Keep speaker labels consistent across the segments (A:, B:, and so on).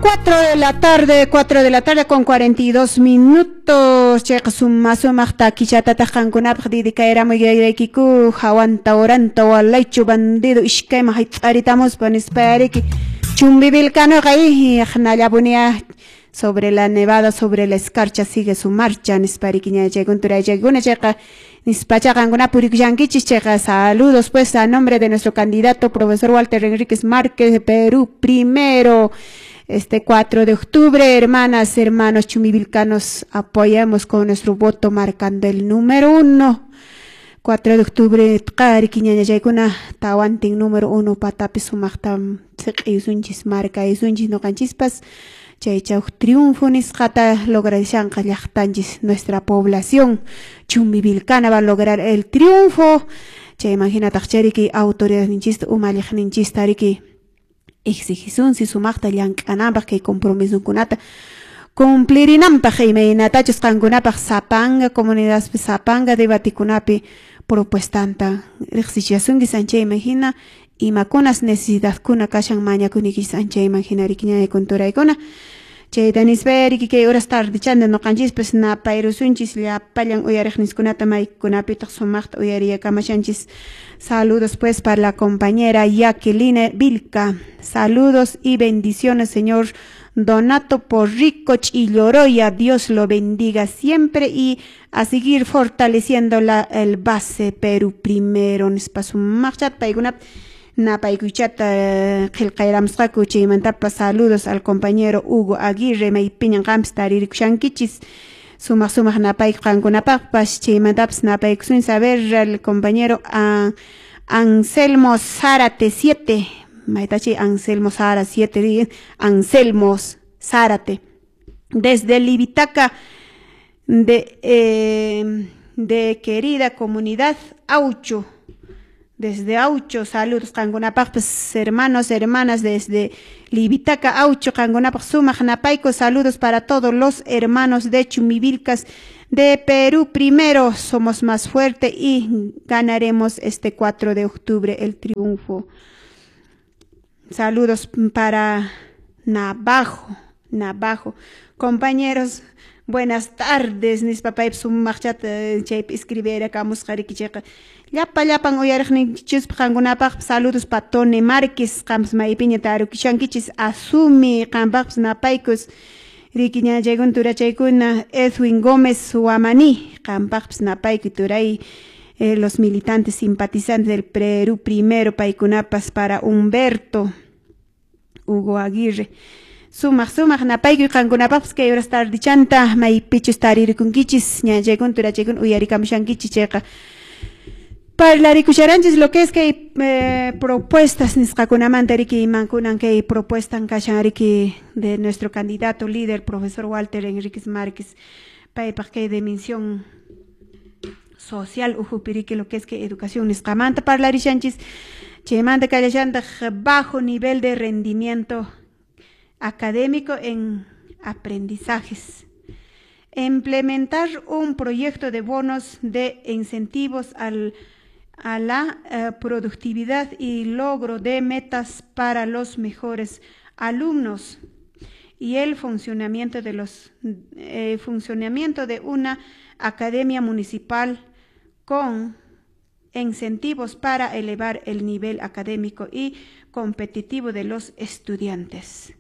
A: 4 de la tarde, 4 de la tarde con 42 minutos. Chayqa suma sumaq takichatataq qankunapaq dedicayramuyaykiku hawanta oranta walaychu bandido iskayman hayt'aritamuspa nispayariki Chumbivilcanoqa aqnallapunia sobre la nevada, sobre la escarcha sigue su marcha nispariki ñachaykun turachaykuna chayqa nispacha qankuna purikushankichis chayqa. Saludos, pues, a nombre de nuestro candidato profesor Walter Enríquez Márquez de Perú Primero. Este 4 de octubre, hermanas, hermanos chumivilcanos, apoyamos con nuestro voto marcando el número 1. 4 de octubre, tqariki ñañachaykuna tawantin número 1 patapi sumaqta siq'iysunchis markaysunchis ñuqanchispas chaycha huk triunfo nisqata lograshanqa llaqtanchis, nuestra población chumbivilcana va a lograr el triunfo. Chayman hinataq chariki autoridadninchista umalliqninchista riki exigisunsi sumaqta llank'ananpaq kay compromisokunata cumplirinanpaq imaynatachus qankunapaq sapanga comunidadpi sapanga debatikunapi propuestanta riqsichiasunkis anchayman hina imakunas necesidadkuna kashan mañakunikichis anchayman hina riki ñañakunturaykuna. Chayta nispa riki kay horas tardechanta ñuqanchispas napayrusunchis llapallan uyariqninchikkunata maykunapitaq sumaqta uyariyakamashanchis. Saludos, pues, para la compañera Jacqueline Vilca. Saludos y bendiciones, señor Donato Porrico Chilloroya. Dios lo bendiga siempre y a seguir fortaleciendo el base Perú Primero. Nispa sumaqchat paykuna napaykuchata qillqayramusqaku. Chaymantapas saludos al compañero Hugo Aguirre maypiñan qampis taririkushankichis. Sumaq sumaq napayku qankunapaqpas. Chaymantapas napaykusun saber al compañero Anselmo Zárate 7. Maytachi Anselmo Zárate 7, Anselmo Zárate. Desde Livitaca de querida comunidad Aucho. Desde Aucho, saludos qankunapaqpas hermanos, hermanas desde Livitaca, Aucho, qankunapaq sumaq napayku, saludos para todos los hermanos de Chumivilcas de Perú Primero, somos más fuerte y ganaremos este 4 de octubre el triunfo. Saludos para Navajo, Navajo. Compañeros, buenas tardes, nispapaypas sumaqchata chaypi escribirakamusqa riki chayqa llapa llapan uyariqninchispa qankunapaqpas saludos pa Tony Márquez qampas maypiña tarukishankichis asumi qampaqpas napaykus riki ñachaykuna turachaykuna. Edwin Gómez Huamaní qampaqpas napayku turay, los militantes simpatizantes del Perú Primero paykunapas para Humberto Hugo Aguirre. Sumaq sumaq napaykuy qankunapaqpas kay horas tardichanta maypichus taririkunkichis ñachaykuna turachaykuna uyarikamushankichis chayqa parlarikusharanchis lo que es kay propuestas nisqakunamanta riki imankunan kay propuestan kashan riki de nuestro candidato líder profesor Walter Enríquez Márquez paypaq kay dimensión social ukhupi riki lo que es que educación nisqamanta parlarishanchis chaymanta kallashantaq bajo nivel de rendimiento académico en aprendizajes. Implementar un proyecto de bonos de incentivos a la productividad y logro de metas para los mejores alumnos y el funcionamiento de una academia municipal con incentivos para elevar el nivel académico y competitivo de los estudiantes.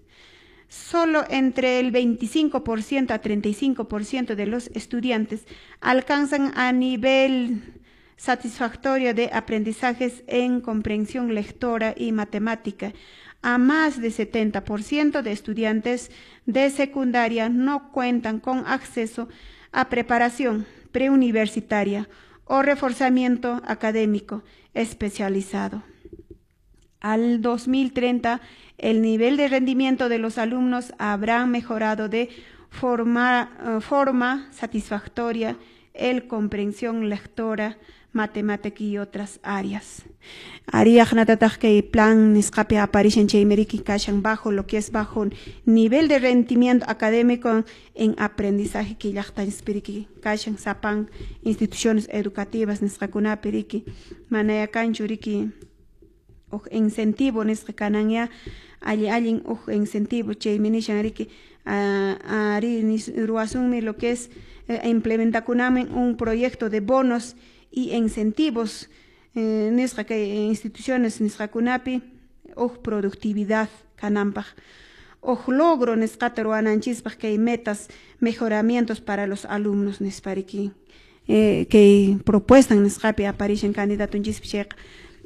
A: Solo entre el 25% a 35% de los estudiantes alcanzan a nivel satisfactorio de aprendizajes en comprensión lectora y matemática. A más de 70% de estudiantes de secundaria no cuentan con acceso a preparación preuniversitaria o reforzamiento académico especializado. Al 2030, el nivel de rendimiento de los alumnos habrá mejorado de forma satisfactoria el comprensión lectora, matemática y otras áreas. Ariaq kay plan nisqapi aparishan chaymi riki kashan bajo lo que es bajo nivel de rendimiento académico en aprendizaje kay llaqtanchispi riki kashan sapan instituciones educativas nisqakunapi riki manaya kanchu riki. Huk incentivo nisqa kananya alli allin huk incentivo chaymi nishan riki ari ruwasunmi lo que es implementakunamin un proyecto de bonos y incentivos nisqa kay instituciones nisqakunapi huk productividad kananpaq huk logro nisqata ruwananchispaq kay metas mejoramientos para los alumnos nispa riki kay propuesta nisqapi aparishan candidatunchispi chayqa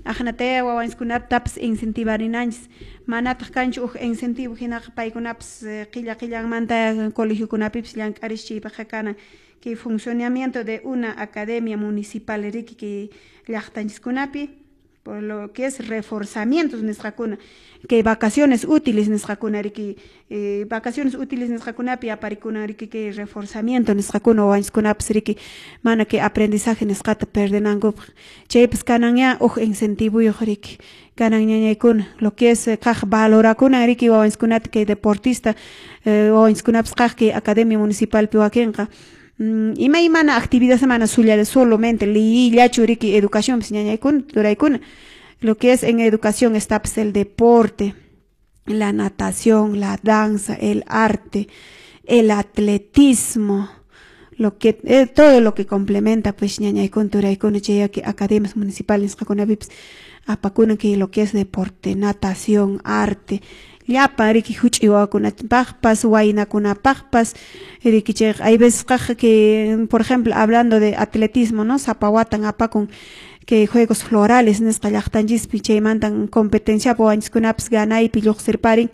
A: aqnataya wawanchiskunatapas incentivarinanchis manataq kanchu huk incentivo hinaqa paykunapas qilla qillanmanta colegiokunapipis llank'arish chaypaqqa kanan kay funcionamiento de una academia municipal riki kay llaqtanchiskunapi por lo que es reforzamientos nisqakuna kay vacaciones útiles nisqakuna riki vacaciones útiles nisqakunapi aparikunan riki kay reforzamiento nisqakuna wawanchiskunapas riki mana kay aprendizaje nisqata perdenankupaq chaypas kananya huk incentivuyuq riki kanan ñañaykuna lo que es kaq valorakuna riki wawanchiskunata kay deportista wawanchiskunapas kaq kay academia municipalpi wakinqa imaymana actividad mana sulla solamente liyillachu riki educación ñañaykuna turaykuna lo que es en educación está pues el deporte, la natación, la danza, el arte, el atletismo, lo que todo lo que complementa pues ñañaykuna turaykuna chay academias municipales nisqakunapipis apakuna kay lo que es deporte, natación, arte, llapa riki huch'i wawakunapaqpas waynakunapaqpas riki chayqa hay veces kaq que por ejemplo hablando de atletismo, no, sapa watan apakun kay juegos florales nisqa llaqtanchispi chaymantan competenciapi wawanchiskunapas ganaypi lluqsirparin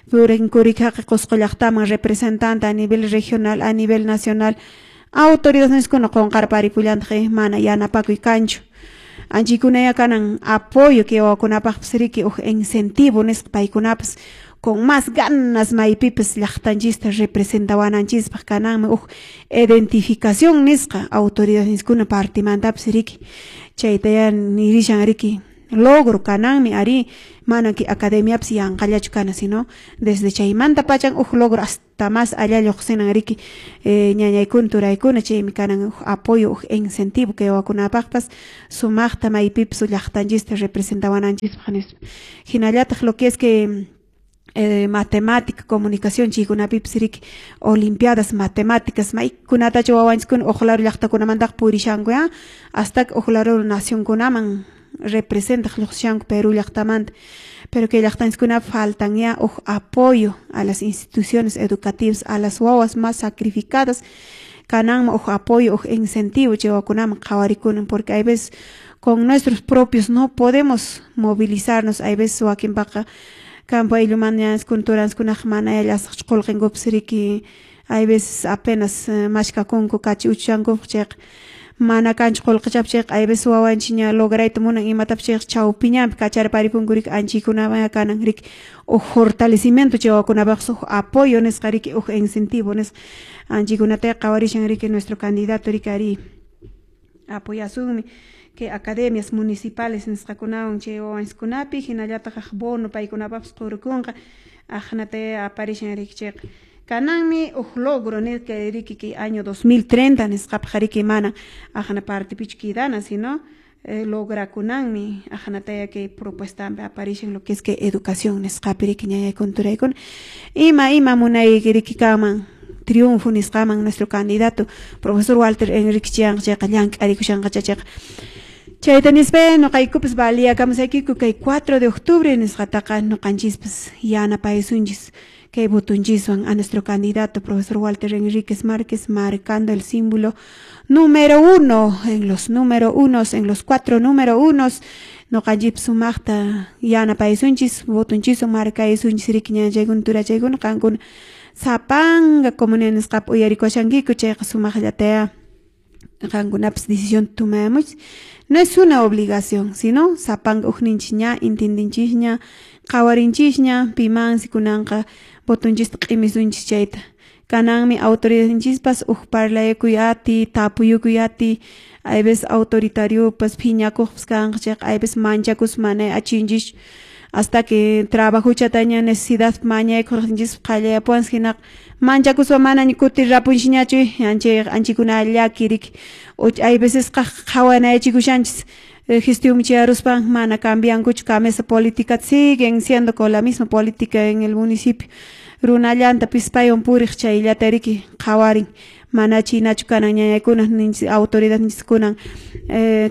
A: purin kurikaqa Qusqu llaqtaman representante a nivel regional, a nivel nacional autoridades niskuna qunqarparipullantaq mana yanapakuy kanchu anchikunaya kanan apoyo kay wawakunapaqpas riki huk incentivo nisqa paykunapas con más ganas maypipas llaqtanchista representawananchispaq kananmi huk identificación nisqa autoridades niskuna partimantapas riki chaytaya nirishan riki logro kananmi ari mana kay academiapas yanqallachu kana sino desde chaymanta pachan huk logro hasta más allá lluqsinan riki ñañaykuna turaykuna chaymi kanan huk apoyo huk incentivo kay wawakunapaqpas sumaqta maypipas llaqtanchista representawananchispaq nispa hinallataq lo que es que matemática, comunicación chaykunapipis riki olimpiadas matemáticas maykunatachu wawanchiskuna huk lado llaqtakunamantaqa purishanku hasta huk lado nacionkunaman representaq lluqsishanku Perú llaqtamanta pero kay llaqtanchiskunapi faltan ya huk apoyo a las instituciones educativas a las wawas más sacrificadas kananman huk apoyo huk incentivo chay wawakunaman qhawarikunan porque hay veces con nuestros propios no podemos movilizarnos hay veces wakinpaqa campo ayllumanta turanchikunaqa mana llasaqchu qullqinkupas riki hay veces apenas mashkakunku kachi uchuchankupaq chayqa mana kanchu qullqichapas chayqa hay veces wawanchik ña lograyta munan imatapas chayqa chawpiñanpi kacharparipunku riki anchaykunamaya kanan riki huk fortalecimiento chay wawakunapaqpas huk apoyo nisqa riki huk incentivo nisqa anchaykunataqa qhawarishan riki nuestro candidato riki ari apoyasunmi kay academias municipales nisqakunawan chay wawanchiskunapi hinallataq bono paykunapaqpas qurukunqa aqnataya aparishan riki chayqa kananmi huk logro nisqa riki kay año 2030 nisqapaq riki mana aqna partipichu quedana sino lograkunanmi aqnataya kay propuestampi aparishan lo que es kay educación nisqapi riki ñañaykuna turaykuna ima ima munayki riki kanman triunfo nisqaman nuestro candidato profesor Walter Enrique Chianqa chayqa llank'arikushanqa chayqa chayta nispa nuqaykupas valiyakamusaykiku kay 4 de octubre nisqataqa nuqanchispas yanapaysunchis kay votonchiswan a nuestro candidato profesor Walter Enríquez Márquez marcando el símbolo número 1 en los número unos en los 4 número unos nuqanchikpas sumaqta yanapaysunchis votonchiswan markaysunchis riki ñañachaykuna turachaykuna qankuna sapanka comunidad nisqapi uyarikushankiku chayqa sumaqllataya qankunapas decisión tomamuchis no es una obligación sino sapanka ukninchis ña entendinchisña qhawarinchisña pimansi kunanqa votonchista q'imisunchis chayta kananmi autoridadninchispas huk parlaykuy ati tapuyukuy ati hay veces autoritariopas phiñakuqpas kanqa chayqa hay veces manchakuspa mana achinchis hasta que trabajuchataña necesidad mañaykuqninchis qallayapuwansi hinaqa manchakuspa manaña kutirrapunchikñachu anchikuna llaki riki hay veces qhawanayachikushanchis Gestión chayaruspan mana cambiankuchu camisa política, siguen siendo con la misma política en el municipio. Runallanta pispaywan puriq chayllata riki qhawarin, mana chinachu kanan ñañaykuna ninchis autoridad ninchis kunan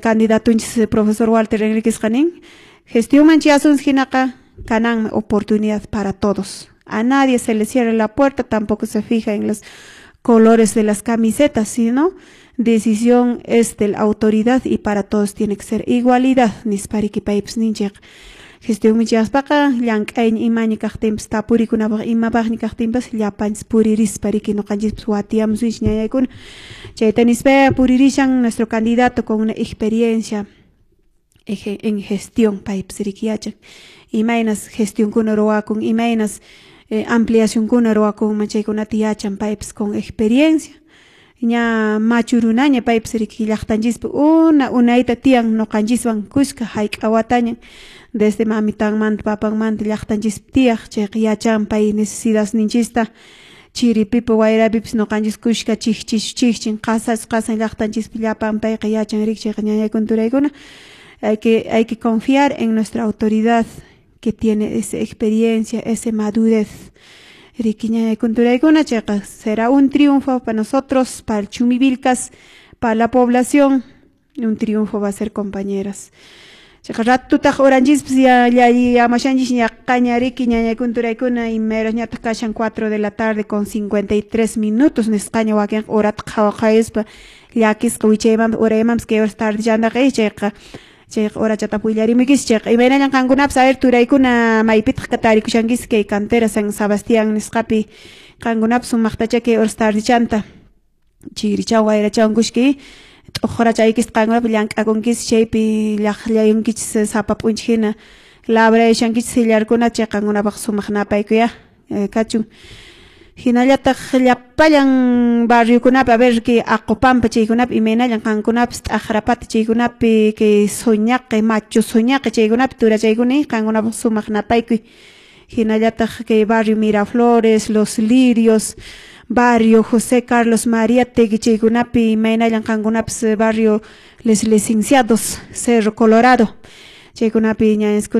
A: candidatunchis profesor Walter Enriquezqa nin gestionman chayasunchis hinaqa kananmi oportunidad para todos. A nadie se le cierra la puerta, tampoco se fija en los colores de las camisetas, sino decisión es de la autoridad y para todos tiene que ser igualidad, nispa riki paypas ninchik. Gestionman chayaspaqa llank'ayña imaña kaqtinpas tapurikunapaq imapaqña kaqtinpas llapanchis puririspa riki ñuqanchispas watiyamusunchis ñañaykuna. Chayta nispa puririshan nuestro candidato con una experiencia en gestión, paypas riki yachan imaynas gestionkuna ruwakun, imaynas ampliacionkuna ruwakunman, chaykunata yachan paypas con experiencia. Ña machu runaña paypas riki llaqtanchispi una unayta tiyan ñuqanchiswan kuska hayk'a wataña desde mamitanmanta papanmanta llaqtanchispi tiyaq, chayqa yachan pay necesidadninchista chiripipas wayrapipas ñuqanchis kuska chikchis chikchin qasas qasan llaqtanchispi llapan payqa yachan riki. Chayqa ñañaykuna turaykuna hay que confiar en nuestra autoridad que tiene esa experiencia, esa madurez. Riki ñañaykuna turaykuna, chayqa será un triunfo para nosotros, para el Chumbivilcas, para la población, un triunfo va a ser, compañeras. Chayqa ratutaq uranchispas ya llamashanchis ñaqaña riki ñañaykuna turaykuna imayras ñataq kashan 4 de la tarde con 53 minutos nisqaña wakinqa horata qhawaqhayuspa llakisqa wichaymanpas uraymanpas kay horas tardechantaqa chayqa chayqa horachataq willarimuykichis. Chayqa imaynallan qankunapas, a ver, turaykuna, maypitaq tarikushankis kay cantera San Sebastián nisqapi qankunapas sumaqtacha kay horas tardechanta chirichawan wayrachawan kushka t'uqrachaykista qankunapas llank'akunkis chaypi llaqllayunkichis sapa p'unchay hina labrayashankichis sillarkunata chay qankunapaq sumaq napaykuya kachun. Hinallataq llapallan barriokunapi, a ver, kay Aqupampa chaykunapi imaynallan qankunapas t'aqrapata chaykunapi kay Soñaqi Machu Soñaqi chaykunapi turachaykuna qankunapaq sumaq napaykuy. Hinallataq kay barrio Miraflores, Los Lirios, barrio José Carlos Mariátegui chaykunapi imaynallan qankunapas barrio Les Licenciados, Cerro Colorado chaykunapi ñañaskuna.